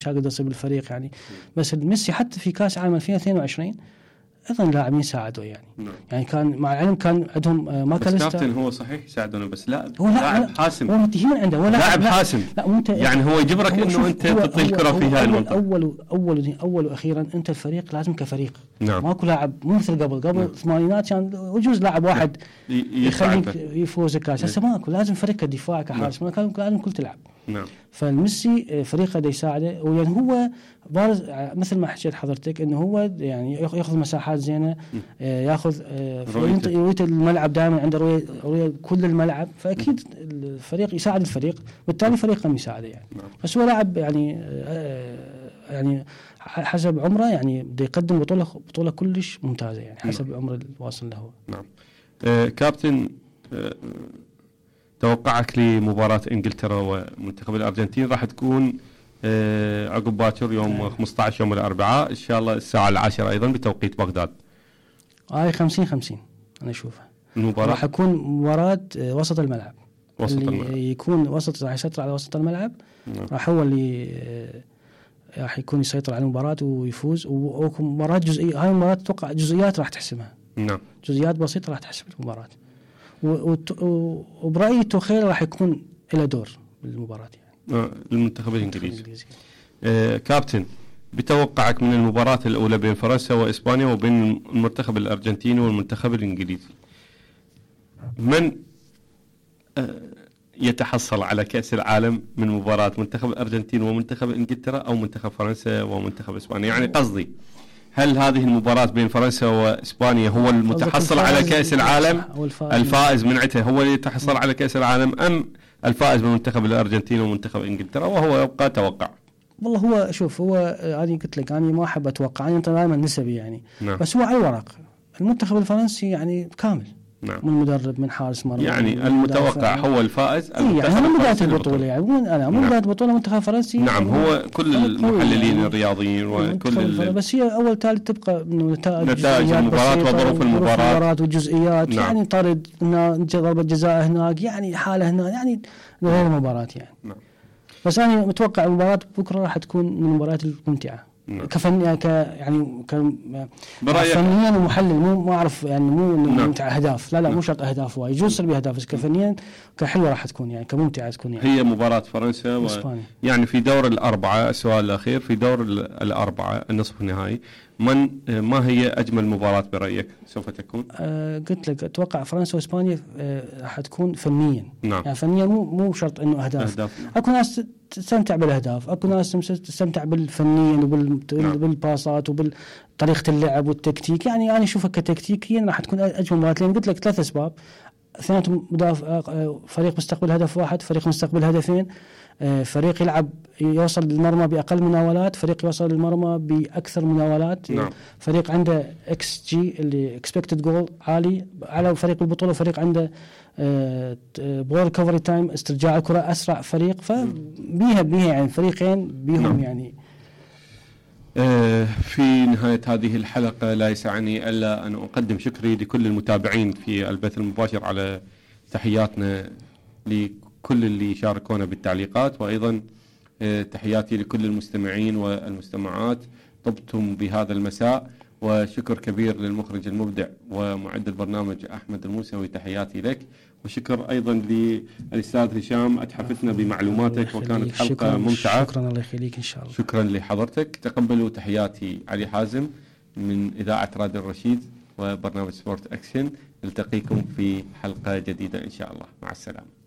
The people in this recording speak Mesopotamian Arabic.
قدر يصير بالفريق يعني. بس ميسي حتى في كاس عالم 2022 ايضا لاعبين ساعدوا يعني. يعني كان مع العلم كان عندهم ماكاليستر. بس كابتن هو صحيح يساعدونه بس لا هو لاعب حاسم. هو متهمين عنده ولا لاعب حاسم. يعني هو يجبرك انه انت تعطي الكره في هاي المنطقه. اول واخيرا انت الفريق لازم كفريق. نعم. ماكو لاعب مو مثل قبل الثمانينات كان يجوز لاعب واحد يخليك يفوز الكاس. هسه ماكو، لازم فريق كدفاع كحارس لازم كل تلعب. نعم. فالميسي فريقه دا يساعده، ويعني هو بارز مثل ما حكيت حضرتك انه هو يعني ياخذ مساحات زينه، ياخذ رؤيه الملعب دائما عنده رؤيه كل الملعب، فاكيد الفريق يساعد الفريق بالتالي فريقهم يساعده يعني. بس هو لاعب يعني حسب عمره يعني بده يقدم بطوله كلش ممتازه يعني حسب عمره الواصل له. نعم. كابتن، توقعك لمباراة انجلترا ومنتخب الارجنتين راح تكون عقب باكر يوم 15 يوم الاربعاء ان شاء الله الساعة 10 ايضا بتوقيت بغداد. 50-50 انا اشوفها. المباراة راح يكون مباراة وسط الملعب. اللي يكون وسط راح يسيطر على وسط الملعب. راح هو اللي راح يكون يسيطر على المباراة ويفوز. ومباراة جزئية، هاي المباراة اتوقع جزئيات راح تحسمها. نعم. جزئيات بسيطة راح تحسم المباراة. وبرأيي توخيل راح يكون له دور بالمباراة يعني. المنتخب الانجليزي. كابتن، بتوقعك من المباراة الأولى بين فرنسا وإسبانيا وبين المنتخب الأرجنتيني والمنتخب الإنجليزي، من يتحصل على كأس العالم من مباراة منتخب الأرجنتين ومنتخب إنجلترا أو منتخب فرنسا ومنتخب إسبانيا؟ يعني قصدي هل هذه المباراة بين فرنسا وإسبانيا هو المتحصل على كأس العالم؟ الفائز من عته هو اللي يتحصل على كأس العالم، أم الفائز من منتخب الأرجنتين ومنتخب إنجلترا؟ وهو يبقى توقع. والله هو شوف، هو أنا قلت لك أنا ما أحب أتوقع، أنا دائما نسبي يعني. نعم. بس هو على الورق المنتخب الفرنسي يعني كامل. نعم. من مدرب، من حارس مرمى، يعني المتوقع هو الفائز. يعني من بداية البطولة يعني من بداية البطولة منتخب فرنسي. نعم. هو كل المحللين يعني الرياضيين وكل بس هي أول ثالث تبقى إنه نتائج المباراة وظروف المباراة والجزئيات. نعم. يعني طرد هنا، ضربة جزاء هناك، يعني حالة هنا، يعني غير المباراة يعني. نعم. بس أنا متوقع المباراة بكرة راح تكون من المباريات الممتعة. نعم. فنيا ومحلل ما أعرف يعني مو ممتع أهداف، لا نعم. مو شرط أهداف وايد، يجوز يصير بأهداف، بس كفنيا كحلوة راح تكون يعني كممتعة تكون يعني. هي مباراة فرنسا يعني في دور الأربعة. السؤال الأخير، في دور الأربعة النصف النهائي ما هي أجمل مباراة برأيك سوف تكون؟ قلت لك أتوقع فرنسا وإسبانيا راح تكون فنيا. نعم. يعني فنيا مو شرط إنه أهداف. أكو ناس تستمتع بالأهداف، أكو ناس تستمتع بالفنيا وبالباصات وبالطريقة اللعب والتكتيك. يعني أنا أشوفها كتكتيكيا راح تكون أجمل مباراة، لأن قلت لك 3 أسباب. اثنيناتهم فريق مستقبل هدف واحد، فريق مستقبل هدفين، فريق يلعب يوصل للمرمى بأقل مناولات، فريق يوصل للمرمى بأكثر مناولات. نعم. فريق عنده XG اللي expected goal عالي على فريق البطولة، فريق عنده بول كفري تايم استرجاع الكرة أسرع فريق. فبيها يعني فريقين بيهم. نعم. يعني في نهاية هذه الحلقة لا يسعني إلا أن أقدم شكري لكل المتابعين في البث المباشر، على تحياتنا لكل اللي شاركونا بالتعليقات، وأيضا تحياتي لكل المستمعين والمستمعات. طبتم بهذا المساء، وشكر كبير للمخرج المبدع ومعد البرنامج أحمد الموسوي، تحياتي لك. وشكر أيضا للأستاذ هشام، أتحفتنا بمعلوماتك وكانت حلقة ممتعة. شكرا، الله يخليك إن شاء الله. شكرا لحضرتك. تقبلوا تحياتي علي حازم من إذاعة راديو الرشيد وبرنامج سبورت أكشن. نلتقيكم في حلقة جديدة إن شاء الله. مع السلامة.